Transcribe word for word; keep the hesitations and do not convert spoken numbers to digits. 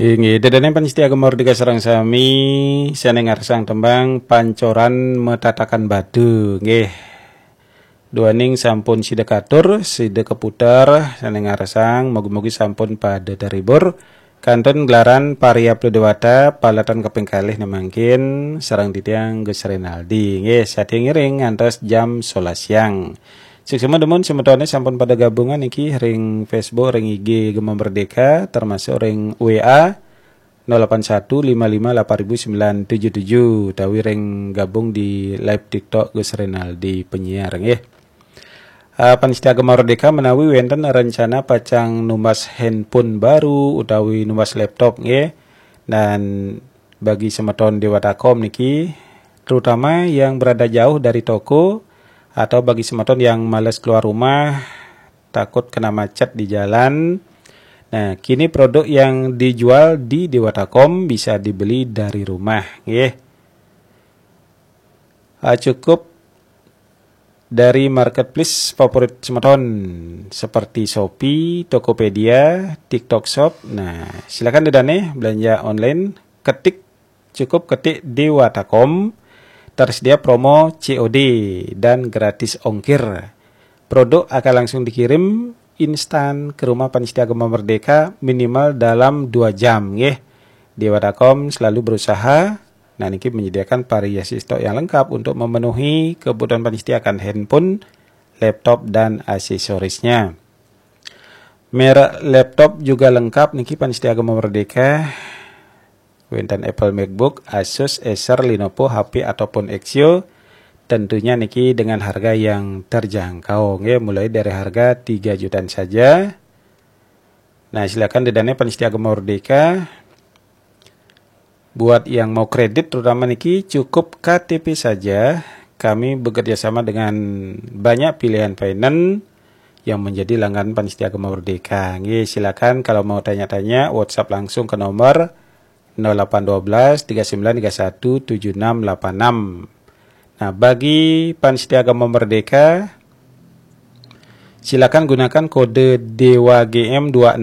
Inggih, ida dané pamiarsa Gema Merdeka sareng sami, sané ngarsang tembang Pancoran Matatakan Batu. Nggih. Duaning sampun sida katur, sida kaputer, sané ngarsang, mugi-mugi sampun pada terhibur. Kantun gelaran Pariyapta Dewata, paletan kaping kalih né mangkin, sareng titiang Gus Renaldi. Nggih, satia ngiring ngantos jam sebelas siang. Suksma dumun semetoné sampun pada gabungan niki ring Facebook, ring I G Gema Merdeka, termasuk ring W A nol delapan satu lima lima delapan ribu sembilan tujuh tujuh, utawi ring gabung di live TikTok Gus Renaldi Penyiar, nggih. Ah, pamiarsa Gema Merdeka, menawi wénten rencana pacang numbas handphone baru utawi numbas laptop, nggih. Dan bagi semeton Dewata Kom niki, terutama yang berada jauh dari toko atau bagi semeton yang males keluar rumah, takut kena macet di jalan. Nah, kini produk yang dijual di Dewata Kom bisa dibeli dari rumah, nggih. Ah, cukup dari marketplace favorit semeton seperti Shopee, Tokopedia, TikTok Shop. Nah, silakan ida dané belanja online, ketik, cukup ketik Dewata Kom, tersedia promo C O D dan gratis ongkir. Produk akan langsung dikirim instan ke rumah pamiarsa Gema Merdeka minimal dalam dua jam, nggih. Dewata Kom selalu berusaha, nah, niki menyediakan variasi stok yang lengkap untuk memenuhi kebutuhan pamiarsa akan handphone, laptop, dan aksesorisnya. Merek laptop juga lengkap niki pamiarsa Gema Merdeka. Wénten Apple MacBook, Asus, Acer, Lenovo, H P ataupun Axioo. Tentunya niki dengan harga yang terjangkau, nggih, mulai dari harga tiga jutaan saja. Nah, silakan ida dané pamiarsa Gema Merdeka. Buat yang mau kredit terutama niki, cukup K T P saja. Kami bekerja sama dengan banyak pilihan finance yang menjadi langganan pamiarsa Gema Merdeka. Nggih, silakan kalau mau tanya-tanya, WhatsApp langsung ke nomor nol delapan dua belas tiga sembilan tiga satu tujuh enam delapan enam. Nah, bagi pamiarsa Gema Merdeka, silakan gunakan kode Dewa G M dua enam